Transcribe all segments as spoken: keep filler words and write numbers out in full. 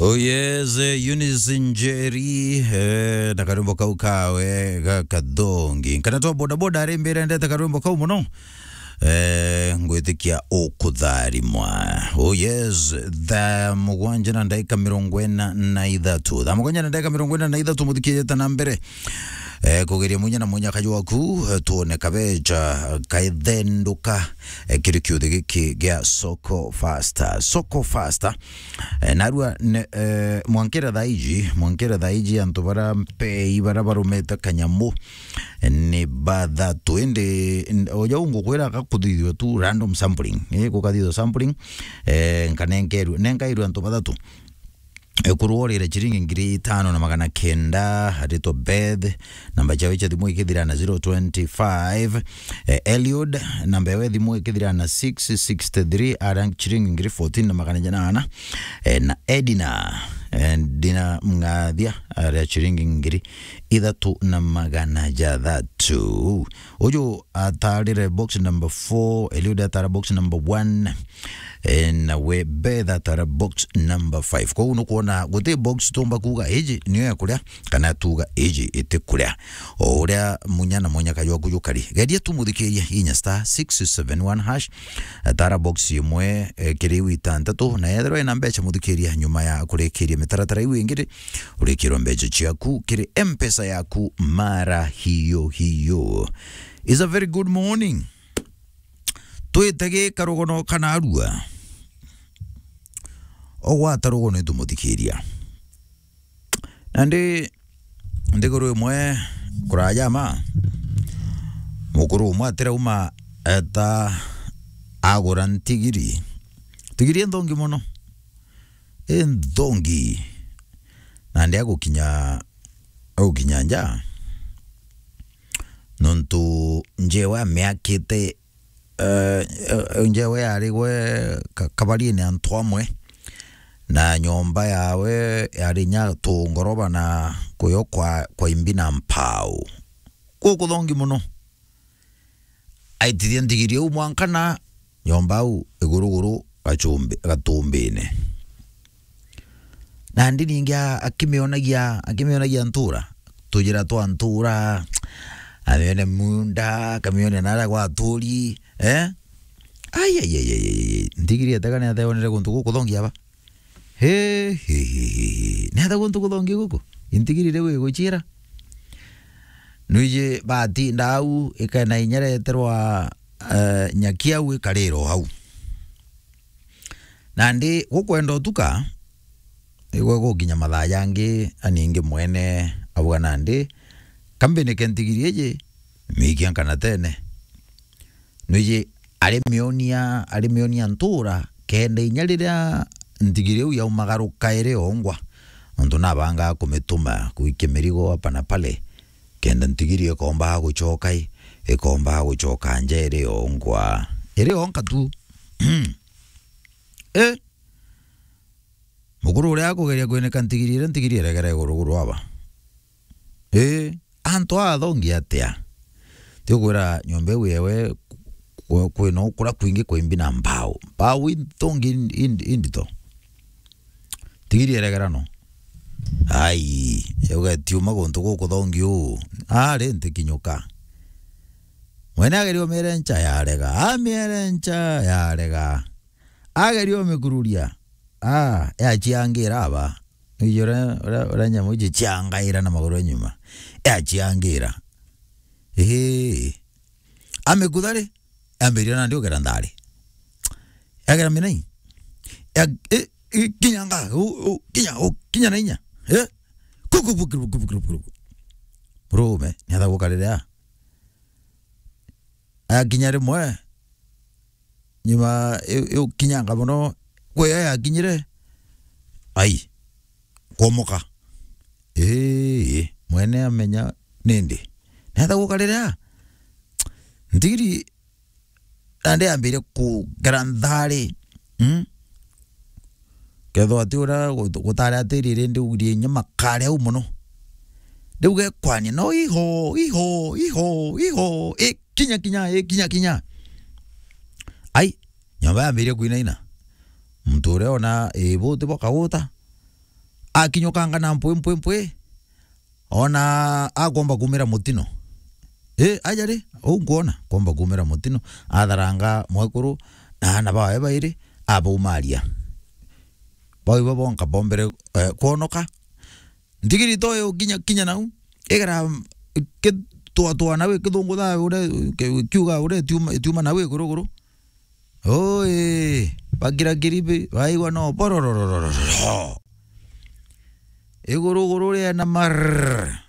Oh yes, eh, Eunice Njeri, eh, na karwimbo kau kawe ga kathongi. Kana twa bodaboda ari mbere ndete karwimbo kau muno. Eh, ngwitikia ukutharimwa. Oh yes, thaa mugwanja na ndagika mirongo ina na ithatu. Thaa mugwanja na ndagika mirongo ina na ithatu, muthikirite na mbere. Eh, kugeria munya na munya kaju waku, eh, tuone kabecha kaithenduka, eh, kiri kiuthi giki gia Soko Faster. Soko Faster. Eh, narua ne, eh, mwankira thaa iji, mwankira thaa iji antu bara mpei bara barumite kanyamu, eh, ni bathatu. Indi, n-, oja ungukwira gakuthithua tu random sampling. Eh, gukathithua sampling, eh, nkanenkerua, nenkairua antu bathatu. Ekuru orire chiringi ngiri itano na magana kenda, aritwa Beth, namba chawe cha thimu ikithira na zero twenty five. Eh, Eliud, namba yawe thimu ikithira na six sixty three, ara chiringi ngiri fourteen na magana jana ana. Eh, na Edina, eh, Edina Mngathia, ara chiringi ngiri ithatu na magana jathatu. Uju atarire box number four, Eliud atara box number one. Eh, nawe Beth atara box number five. Kwou nukwona guti box tumba kuuga iji niyo ya kuria, kana tuuga iji iti kuria. O uria munya na munya kajwa kujukari. Geria tu muthikiria inya star six seven one hash. Atara box imwe, eh, kiri iu itantatu, na yethirwa ina mbecha muthikiria nyuma ya kurikiria mitaratara iu ingi ri, urikirwa mbecha ciaku kiri M-Pesa yaku mara hiyo hiyo. It's a very good morning. Twitege karugono kana arua. Ogwata rugono itumuthikiria. Nandi nthiguru imwe kuraja ma, mukuru umwe atirauma eta agura ntigiri. Ntigiri inthongi muno. Inthongi. Nandi agukinya, agukinya nja. Nontu njewe amiakite eh, eh, njewe yari gwe ka-, kabarine antu amwe, na nyomba yawe yari nya tu ngoroba na kuyo kwa, kwa imbi na mpau. Gukuthongi muno. Aitithia ntigiri u mwanka na nyomba au iguruguru gachumbi-, gatumbine. Nandi ningi a-, akimionagia, akimionagia ntura, tujira twa ntura, amione munda, akamione nara gwa aturi, eh? Ai, ai, ai, ai, ai, ai. Ntigiri etega ni ateonere guntu gukuthongia ba? He, he, he, he, he. Ni ata guntu kuthongia guku? Intigiri riu iguchira. Nwiji batinda au, ikena inyereterwa, eh, nyaki au ikarira o hau. Nandi gukwenda utuka, igwe gukinya mathaa jangi, aningi mwene, auga nandi, kambinike ntigiri iji, miikia nkanatene. Nwiji arimionia, arimionia ntura, kenda inya riria ntigiri iu yaumagaruka iri ongwa, nontu nabangaa kumituma kuikia mirigo hapa na pale, kenda ntigiri ikomba gucoka i, ikomba gucoka nja iri ongwa. Iri onka tu. Eh? Mukuru uria akugeria kwinika ntigiri iria, ntigiri iregere iguruguru aba. Ii, antu aa athongi atia? Ti ukwira nyomba iu yewe kw-, kwina ukura kwingi kwa imbi na mbau. Mbau inthongi in-, in-, indito. Ntigiri iregera no. Ai, yauga itiuma guntu gukuthongi uu. Ari ntikinyuka. Mwene ageria umiere ncha yarega. Amiere ncha yarega. Ageria umikururia. Ah, yachiangira aba. Ijure ura, ura nyamu ichi chiangaira na maguru nyuma. Yachiangira. Ii. Amikutha ri, ambiria nandi ugera nthari. Yagera minai. Ya, i, i, kinya nga, u, u, kinya, u, kinya na inya. Eh? Kuku, kuku, kuku, kuku, kuku. Murume, ni atha gukarira. Akinya rimwe, nyuma iu, iu kinyanga mono, kwi yo yakinyire, ai, kwomoka. Ii, mwene amenya nindi. Netha gukarira, ntigiri, nandi ambire kugera nthari. Mm? Kethwa ati uria gu-, gutari atiri rindi ugirie inya makare au mono. Riu gekwania, no iho, iho, iho, iho, i kinya, kinya, i kinya, kinya. Ai, nyomba yambirie kwinaina. Muntu uria ona ibuti bwakaguta. akinyukanga na mpwi, mpwi, mpwi, ona akomba kumira mutino. Ii, aja ri, uu nkwona, komba kumira mutino, atharanga mwekuru na aana bawe bairi, abaumaria. Bau ibo bonka bombere, eh, kwonoka. Ntigiri toyo kinya, kinya nau, igera, kitwatwa nau, ikithungutha uria, ki-, kiuga uria itiuma, itiuma nau iguruguru. Oi, bakirakiri bi, baigua no borororororo. Iguruguru rienama rrrr.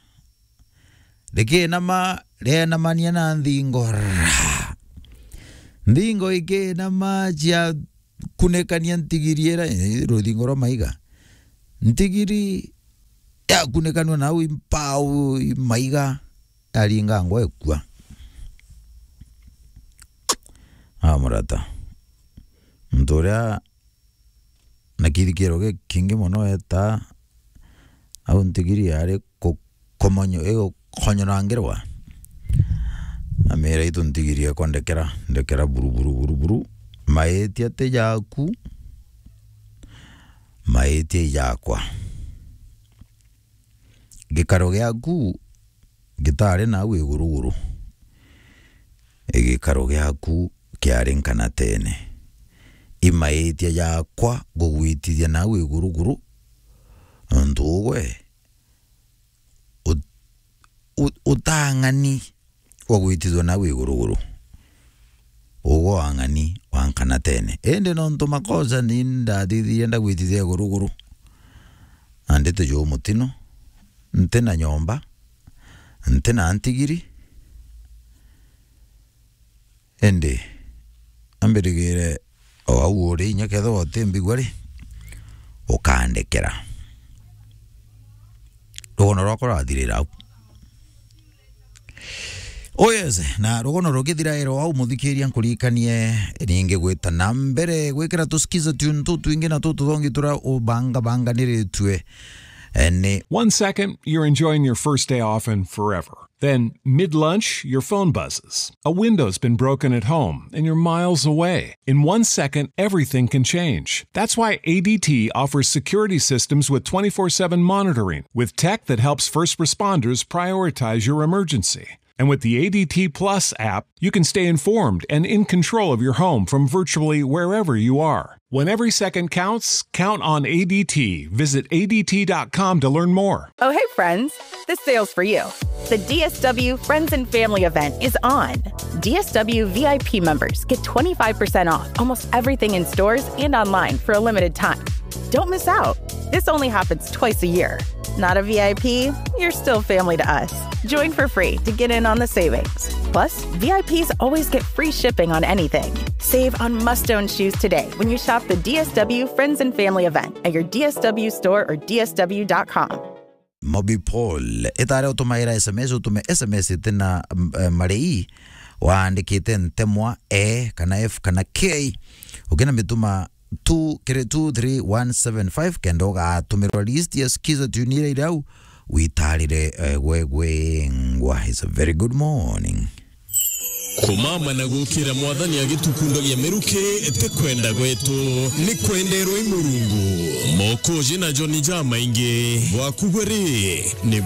Rikinama, rienamania na nthingo rrrr. Nthingo ikinama cia kunikania ntigiri ira, eh, ruthingo rwa maiga. Ntigiri yakunikanua nau impau i maiga, yaringangwa ikua. Ah, murata. Muntu uria na kithikiro gikingi mono etaa au ntigiri yari ku-, kumonyo-, igukonyorangirwa. Amira, "Itu ntigiri ekwa ndekera, ndekera buru, buru, buru, buru. Maitia ti jaku, maitia i jakwa." Gikaro giaku gitari nau iguruguru, gikaro giaku kiari nkanatene. I maitia jakwa ngugwitithia nau iguruguru, nontu ugwe ut-, ut-, utang'ani wa gwitithua nau iguruguru. Ugwe wang'ani wa nkanatene. Indi nontu makosa ni ndathithirie ndagwitithia iguruguru, na ndite juu mutino, nti na nyomba, nti na ntigiri, indi ambirigire o au uri inya kethirwa utimbigua ri, ukandekera. Rugono rwakwa rwathirira au. Oh yes, na rugono rukithira ero au, muthikiria, nkuririkanie ningi gwita na mbere gwikira tusikiza tune tu twingi na tu tuthongi turia ubangabanganiritue, eh, ni One second, you're enjoying your first day off and forever. Then, mid lunch, your phone buzzes. A window's been broken at home, and you're miles away. In one second, everything can change. That's why A D T offers security systems with twenty-four seven monitoring, with tech that helps first responders prioritize your emergency. And with the A D T Plus app, you can stay informed and in control of your home from virtually wherever you are. When every second counts, count on A D T. Visit A D T dot com to learn more. Oh, hey, friends. This sale's for you. The D S W Friends and Family event is on. D S W V I P members get twenty-five percent off almost everything in stores and online for a limited time. Don't miss out. This only happens twice a year. Not a V I P? You're still family to us. Join for free to get in on the savings. Plus, V I Ps always get free shipping on anything. Save on must-own shoes today when you shop the D S W Friends and Family event at your D S W store or D S W dot com. Mobi Paul, itare utumaira S M S, utume S M S itina, mm, eh, marei, waandikite ntemwa E kana F kana K. Ukina mituma two kiri two three one seven five, kenda ugatumirwa list ya sikiza tune iria iri au, witarire, eh, gwegwengwa. It's a very good morning. Kumama na gukira Mwathani agitukundagia miruki ti kwenda gwetu, ni kwenderwa i Murungu. Mokoji na Joni jamaingi bwaku bwe ri, ni